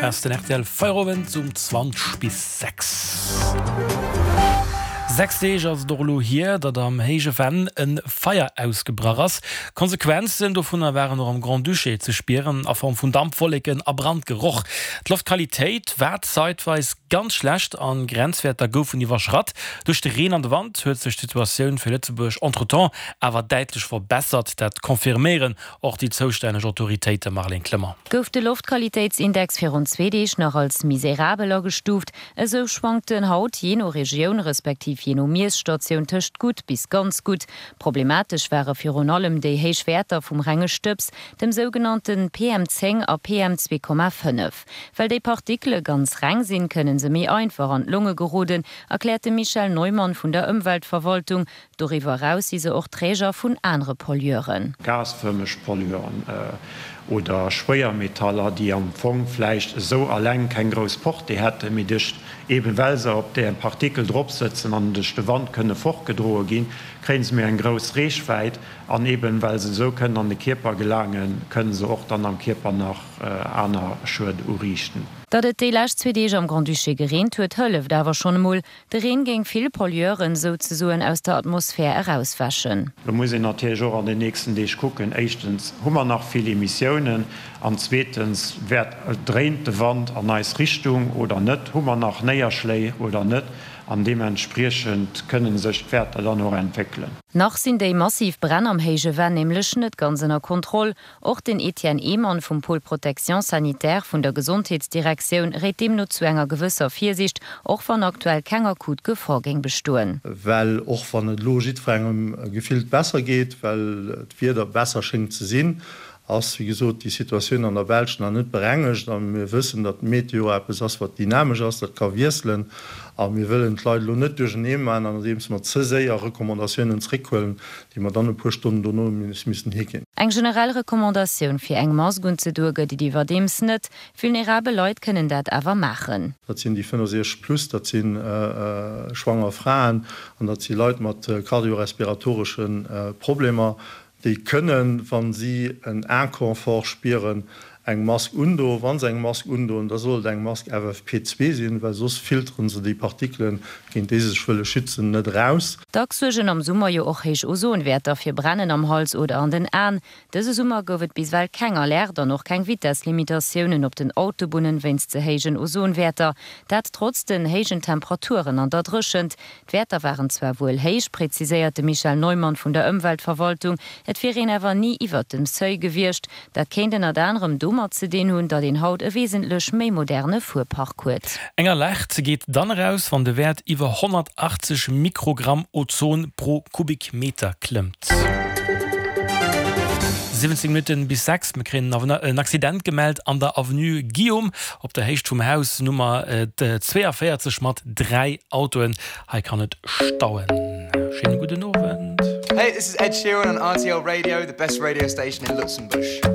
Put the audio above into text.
Ass den rtl Feierowend um 20 bis 6. 6 Deeg ass et och elo hier, datt am Héije Venn e Feier ausgebrach ass. D'Konsequenzen dovunner waren och am Grand-Duché ze spieren, a Form vun Dampwolleken a Brandgeroch. D'Loftqualitéit war zeitweis ganz schlecht an Grenzwäerter goufen iwwerschratt. Duerch de Reen an de Wand huet sech d'Situatioun fir Lëtzebuerg entretemps awer däitlech verbessert. Dat confirméieren Och déi zoustänneg Autoritéite, Marlène Clement. Gouf de Loftqualitéitsindex virun zwee Deeg nach als miserabel agestuuft, esou schwankt en haut jee no Regioun respektiv jee no Miesstatioun tëscht gutt bis ganz gutt. Problematesch ware virun allem déi héich Wäerter vum renge Stëbs, dem sougenannte PM 10 a PM 2,5. Well déi Partikele ganz reng sinn, kënne se méi einfach an d'Longe geroden, erkläert de Michel Neumann vun der Ëmweltverwaltung. Doriwwer eraus si se och Träger vun anere Pollueuren. Gasfërmeg Pollueuren oder Schwéiermetaller, déi am Fong vläicht esou alleng keng grouss Portée hätten, mee duerch, eben well se op där Partikel drop sëtzen an duerch de Wand kënne fortgedroe ginn, kréie se méi eng grouss Reechwäit an eben well se esou kënnen an de Kierper gelaangen, kënne se och dann am Kierper nach aner Schued uriichten. Datt et déi lescht zwee Deeg am Grand-Duché gereent huet, hëlleft awer schonn emol. De Reen géing vill Pollueuren souzesoen aus der Atmosphär erauswäschen. Lo muss een natierlech och an den nächsten Deeg kucken, éischtens hu mer nach vill Emissiounen an zweetens wäert, dréint de Wand an eis Richtung oder net, hu mer nach Néierschléi oder net an deementspriechend kënne sech d'Wäerter dann och entwéckelen. Nach sinn déi massiv Bränn am Héije Venn nämlech net ganz ënner Kontroll. Och den Etienne Ehmann vum Pôle Protection sanitaire vun der Gesondheetsdirektioun réit deemno zu enger gewësser Virsiicht, och wann aktuell keng akut Gefor géing bestoen. Well och wann et elo jiddwerengem gefillt besser geet, well d'Wieder besser schéngt ze sinn, ass wéi gesot déi Situatioun an der Belsch nach net berengegt. A mir wëssen, datt d'Meteo eppes ass, wat dynamesch ass, dat ka wiesselen. A mir wëllen d'Leit elo net duerchernee maachen, andeems mer ze séier Recommandatiounen zréckhuelen, déi mer dann e puer Stonnen dono missen higinn. Eng generell Recommandatioun fir eng Mask unzedoe gëtt et iwwerdeems net. Vulnerabel Leit kënnen dat awer maachen. Dat sinn déi 65 plus, dat si schwanger Fraen an dat si Leit mat kardiorespiratoresche Problemer. Déi kënnen, wa si en Inconfort spieren, eng Mask undoen. Wa se eng Mask undoen, da soll et eng Mask FFP2 sinn, well soss filteren se déi Partikelen, géint déi se sech wëlle schützen, net eraus. Dacks suergen am Summer jo och héich Ozonwäerter fir Brennen am Hals oder an den Aen. Dëse Summer gouf et bis ewell keng Alerte an och keng Vitesslimitatiounen op den Autobunnen wéinst ze héijen Ozonwäerter. Dat trotz den héijen Temperaturen an der Dréchent. D'Wäerter waren zwar wuel héich, präziséiert de Michel Neumann vun der Ëmweltverwaltung, et wier een awer ni iwwert dem Seuil gewiescht. Dat kéint ënnert anerem domat ze dinn hunn, datt een haut e wesentlech méi moderne Fuerpark huet. Eng Alerte geet dann eraus, wann de Wäert iwwer 180 Mikrogramm Ozon pro Kubikmeter klëmmt. 17 Minutten bis 6, Mir kréien en Accident gemellt an der Avenue Guillaume op der Héicht vum Haus Nummer 42 mat 3 Autoen. Hei kann et stauen. Schéine gudden Owend. Hey, this is Ed Sheeran on rtl Radio, the best radio station in Luxembourg.